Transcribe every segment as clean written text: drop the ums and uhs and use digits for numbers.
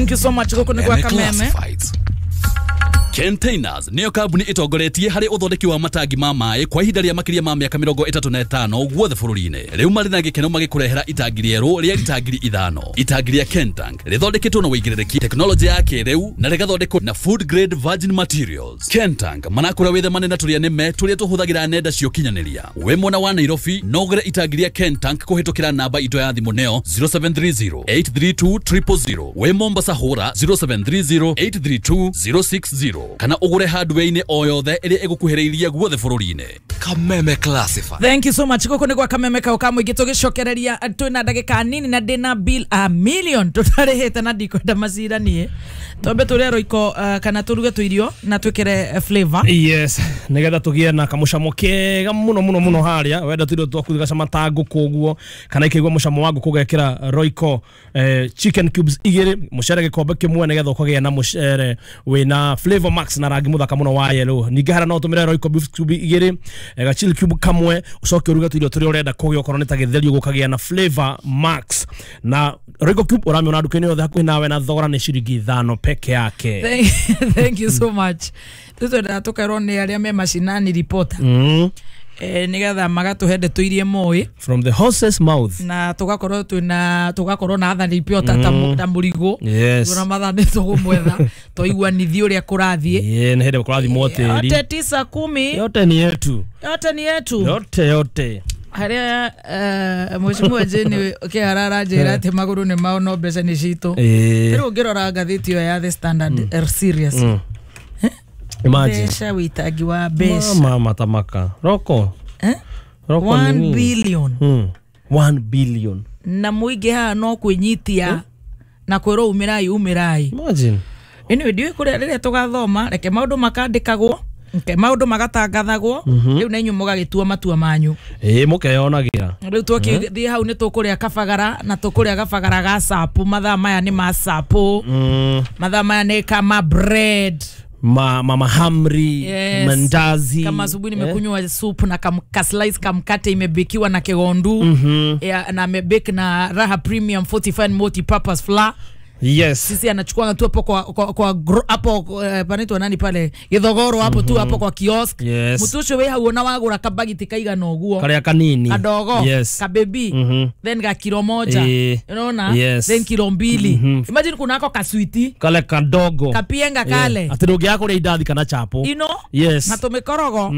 Thank you so much. Gũkũ nĩ gwa Kameme. Classifieds. Containers nĩyo kambuni ĩtongoretie harĩ ũthondeki wa matangi ma maĩ kwa ihinda rĩa makĩria ma mĩaka 35 guothe bũrũri-inĩ. Rĩu marĩ na gĩkeno magĩkũrehera itangi rĩerũ rĩa lita 5,000. Itangi rĩa Kentank rĩthondeketwo na ũigĩrĩrĩki, tekinoronjĩ ya kĩrĩu na rĩgathondekwo na food grade virgin materials. Kentank marakũra wĩthemane na tũrĩa nĩme tũrĩa tũhũthagĩra nenda cia ũkinyanĩria. Wĩ mwena wa Nairobi no ũgũre itangi rĩa Kentank kũhĩtũkĩra namba itũ ya thimũ nĩyo 0730 832 000. Wĩ Mombasa hũra 0730 832 060 kana ũgũre hardware-inĩ o yothe ĩrĩa ĩgũkuhĩrĩirie guothe bũrũri-inĩ. Kameme Classified. Thank you so much. Gũkũ nĩ gwa Kameme kau ka mũingĩ tũgĩcokereria twĩna ndagĩka nini na ndĩna bill a million tũtarĩhĩte na ndikwenda macira niĩ. Twambe tũrĩe roiko kana tũruge tũirio na twĩkĩre flavor. Yes, nigetha tugie na kamucamo kega muno muno muno haria wenda tuirio twaku gacama ta ngũkũ ũguo kana ikaigua mucamo wa ngũkũ ũgekĩra Royco chicken cubes igĩrĩ, mũcere gĩkombe kĩmwe nigetha ũkagĩa na mũcere wĩna flavor max na rangi mũthaka mũno wa yellow. Ningĩ harĩa no ũtũmĩre Royco beef cube igĩrĩ, ga chili cube kamwe, ũcoke ũruge tũirio tũrĩa ũrenda kũgĩa okorwo nĩ ta gĩtheri ũguo ũkagĩa na flavor max. Na Royco cube ũramĩona nduka-inĩ yothe hakuhĩ nawe na thogora nĩ ciringi 5 peke yake. Thank you so much. Tũtwendaga tũkerwo nĩ arĩa me macinani reporter. Nĩgetha magatũhe ndeto iria moĩ From the horse's mouth. Na tũgakorwo twĩna tũgakorwo na athani reporter ta mũrigũ. Yes. Ona mathaa nĩ tũgũmwetha tũiguanithie ũrĩa kũrathiĩ. Yeah, nĩ hĩndĩ kũrathimwo tĩri. Yote 9 10. Yote ni yetu. Yote ni yetu. Yote yote. Harĩa Mheshimiwa Jane Kĩhara aranjĩra atĩ magũrũ nĩ mao no mbeca nĩ citũ. Rĩu ũngĩrora ngathĩti ĩyo ya The Standard serious. Imagine. Mbeca wĩitangi wa mbeca. Mama matamaka. Roko. Roko 1 nini? billion. 1 billion. Na mũingĩ haha no kwĩnyitia na kwĩrwo umĩrai umĩrai. Imagine. Anyway, ndiũĩ kũrĩa rĩrĩa tũgathoma reke maũndũ makandĩkagwo reke maũndũ magatangathagwo rĩu na inyuĩ mũgagĩtua matua manyu. Mũkeyonagĩra. Rĩu twakĩthiĩ hau nĩ tũkũrĩa kabagara na tũkũrĩa kabagara ga sapu. Mathaa maya nĩ ma sapu. Mathaa maya nĩ kama bread. Mahamri, Yes. mandazi. Kama asubuhi nimekunywa soup na kaslice kamkate imebekiwa na kigondu. Ya, na amebake na Raha Premium Fortified Multi-Purpose Flour. Yes. Sisi anachukua tu hapo kwa hapo panaitwa nani pale Githogoro hapo tu hapo kwa kiosk. Yes. Mutu ucio wĩ hau ona wagũra kabagiti kaigana ũguo Karĩa kanini. kadogo. Yes. Kabebi. Then ga kilo moja. Unaona? Yes. Then kilo 2. Imagine kunako kaswiti Kale kadogo. Kapienga kale. Atĩ ndũngĩaga kũrĩa indathi kana chapo. You know? Yes. Na tũmĩkorogo.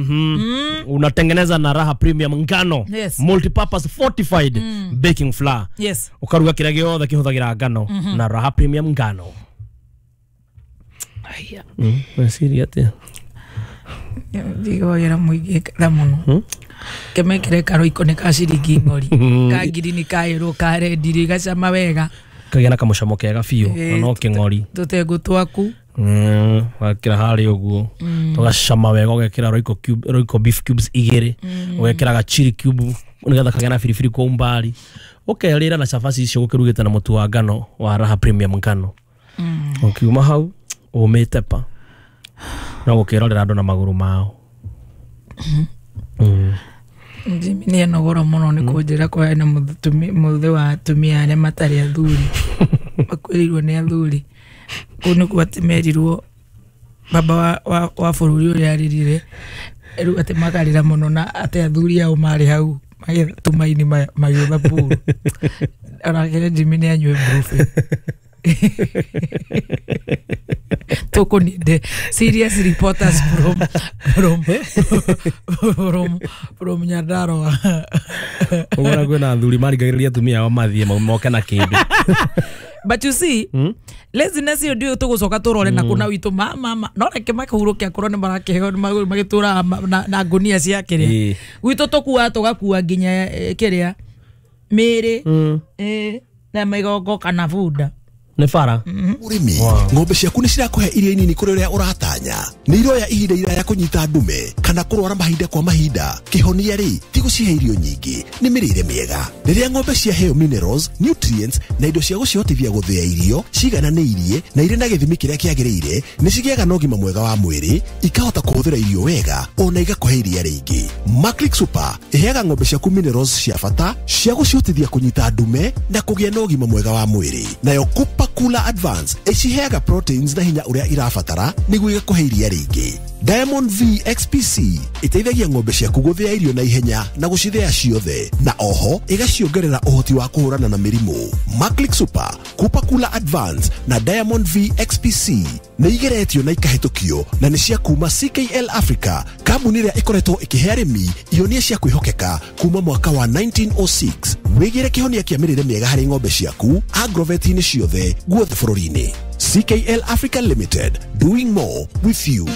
Unatengeneza na Raha Premium ngano. Yes. Multipurpose fortified baking flour. Yes. Ũkaruga kĩrĩa gĩothe kĩhũthagĩra ngano na Raha Premium ngano. Aya. Weciria atĩa? Ndigagĩra mũingĩ tha mũno. Kemekere karoiko nĩ ka ciringi ng'ori. Ka ngirini ka yellow ka red rĩ gacama wega. Kagĩa na kamũcamo kega biũ na no kĩng'ori. Tũtengũ twaku. Wekĩra harĩa ũguo tũgacama wega ũgekĩra Royco cube, Royco beef cubes igĩrĩ, ũgekĩra ga chili cube nĩgetha kagĩa na biribiri kwa umbali, ũkerĩra na cabaci icio gũkĩrugĩte na mũtu wa ngano wa Raha Premium ngano. Ũkiuma hau ũmĩte pa no gũkĩrorera andũ na magũrũ mao. Jimmy nĩ enogora mũno nĩ kũnjĩra kwa na mũthĩ wa atumia arĩa matarĩ athuri makuĩrĩirwo nĩ athuri. Kũu nĩkuo atĩ merirwo baba wa bũrũri ũrĩa arĩrire rĩu atĩ makarĩra mũno na atĩ athuri ao marĩ hau magĩtũmaini magĩũtha pool. Onake Jimmy nĩ anyue brufen. Tũkũninde serious reporters from Nyandarua. Ũguo kwĩna athuri marigagĩrĩria atumia ao mathiĩ moke na kĩndũ. But you see, laziness ĩyo ndiũĩ tũgũcoka tũrore na kũna witũ mama no reke makahurũke akorwo nĩ marakĩheo magĩtũraga na ngũnia cia kĩrĩa. Gwitũ tũkuaga tũgakua nginya kĩrĩa mĩĩrĩ na mĩgongo kana bunda. Nĩ bara. Ũrĩmi, ng'ombe ciaku nĩ cirakũhe irio nini kũrĩ ũrĩa ũratanya. Nĩ iroya ihinda iraya kũnyita ndume kana kũrwara mahinda kwa mahinda. Kĩhonia rĩ ti gũcihe irio nyingĩ, nĩ mĩrĩre mĩega. Rĩrĩa ng'ombe ciaheo minerals, nutrients na indo cia gũcihotithia gũthĩa irio cigananĩirie na irĩ na gĩthimi kĩrĩa kĩagĩrĩire, nĩ cigĩaga na ũgima mwega wa mwĩrĩ, ikahota kũhũthĩra irio wega ona igakũhe iria rĩingĩ. Maclick Super ĩheaga ng'ombe ciaku minerals cia bata cia gũcihotithia kũnyita ndume na kũgĩa na ũgima mwega wa mwĩrĩ. Nayo Kupa Cooler Advance ĩciheaga proteins na hinya ũrĩa irabatara nĩguo igakũhe iria rĩingĩ. Diamond V XPC ĩteithagia ng'ombe ciaku gũthĩa irio na ihenya na gũcithĩa ciothe, na oho ĩgaciongerera ũhoti wa kũhũrana na mĩrimũ. Maclick Super, Cooper Cooler Advance na Diamond V XPC nĩ igeretio na ikahĩtũkio na nĩ cia kuma CKL Africa, kambuni ĩrĩa ĩkoretwo ĩkĩhe arĩmi ihonia cia kwĩhokeka kuma mwaka wa 1906. Wĩgĩre kĩhonia kĩa mĩrĩre mĩega harĩ ng'ombe ciaku agrovet-inĩ ciothe guothe bũrũri-inĩ. CKL Africa Limited, doing more with you.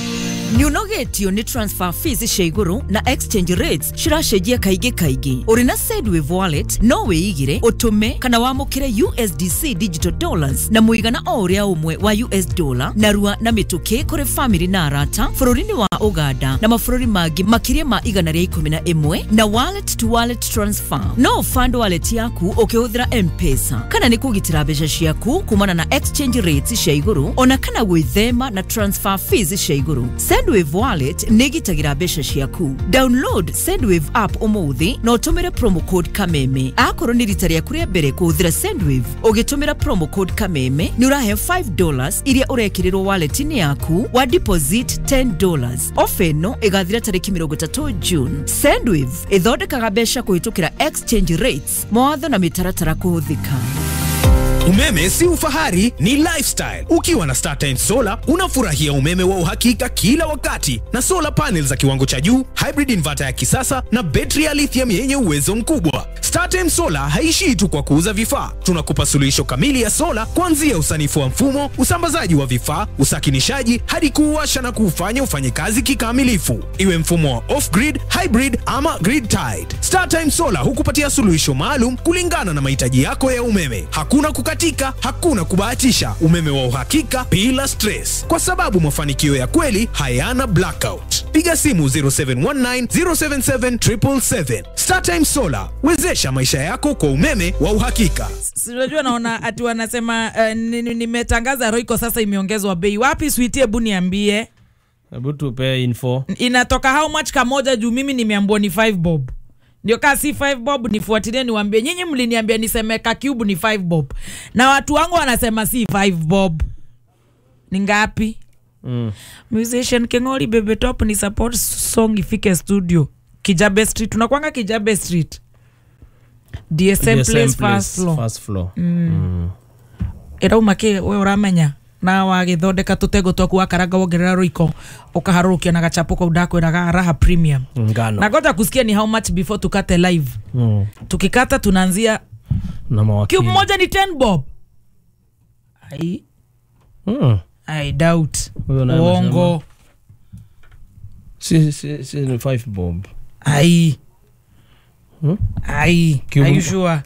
Nĩũnogetio nĩ transfer fees cia igũrũ na exchange rates ciracenjia kaingĩ kaingĩ. Ũrĩ na Sendwave wallet no wĩigĩre, ũtũme kana wamũkĩre USDC digital dollars na mũigana o ũrĩa ũmwe wa US dollar narua na mĩtũkĩ kũrĩ family na arata bũrũri-inĩ wa Uganda na mabũrũri mangĩ makĩria ma 111 na wallet to wallet transfer. No fund wallet yaku ũkĩhũthĩra M-Pesa kana nĩ kũgitĩra mbeca ciaku kumana na exchange rates cia igũrũ ona kana gwĩthema na transfer fees cia igũrũ. Sendwave wallet nĩ ĩgitagĩra mbeca ciaku. Download Sendwave app ũmũthĩ na ũtũmĩre promo code Kameme. Akorwo nĩ rita rĩaku rĩa mbere kũhũthĩra Sendwave, ũgĩtũmĩra promo code Kameme nĩ ũrahe $5 iria ũrekĩrĩrwo wallet-inĩ yaku wa deposit $10. Ofa ĩno ĩgathira tarĩki 30 June. Sendwave ĩthondekaga mbeca kũhĩtũkĩra exchange rates, mawatho na mĩtaratara kũhũthĩka. Umeme si ufahari, ni lifestyle. Ukiwa na StarTimes Solar unafurahia umeme wa uhakika kila wakati na solar panels za kiwango cha juu, hybrid inverter ya kisasa na betri ya lithium yenye uwezo mkubwa. StarTimes Solar haishii tu kwa kuuza vifaa. Tunakupa suluhisho kamili ya sola kuanzia usanifu wa mfumo, usambazaji wa vifaa, usakinishaji hadi kuuwasha na kuufanya ufanye kazi kikamilifu. Iwe mfumo wa off-grid, hybrid ama grid tied. StarTimes Solar hukupatia suluhisho maalum kulingana na mahitaji yako ya umeme. Hakuna kukatika, hakuna kubahatisha. Umeme wa uhakika bila stress, kwa sababu mafanikio ya kweli hayana blackout. Piga simu 0719 077 777. StarTimes Solar, wezesha maisha yako kwa umeme wa uhakika. Unajua naona ati wanasema nimetangaza Royco sasa imeongezwa bei. Wapi sweetie, hebu niambie. Hebu tupe info. Inatoka how much kamoja juu mimi nimeambiwa ni 5 bob. Ndio kasi 5 bob nifuatilie niwaambie. Nyinyi mliniambia niseme ka cube ni 5 bob. Na watu wangu wanasema si 5 bob. Ni ngapi? Musician Kengori Bebe Top ni support song ifike studio. Kijabe Street. Tunakuanga Kijabe Street. DSM Place first floor. First floor. Irauma ke we uramenya na wagithondeka tutego twaku wakaranga wongerera Royco ukaharurukia na gachapo kau ndakwiraga raha premium. Ngano. Na ngoja kusikia ni how much before tukate live. Tukikata tunaanzia na mawakili. Cube moja ni 10 bob. Ai. I doubt. Uongo. Si ni 5 bob. Ai. Ai. Are you sure?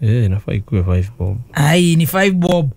Eh, inafaa ikuwe 5 bob. Ai, ni 5 bob.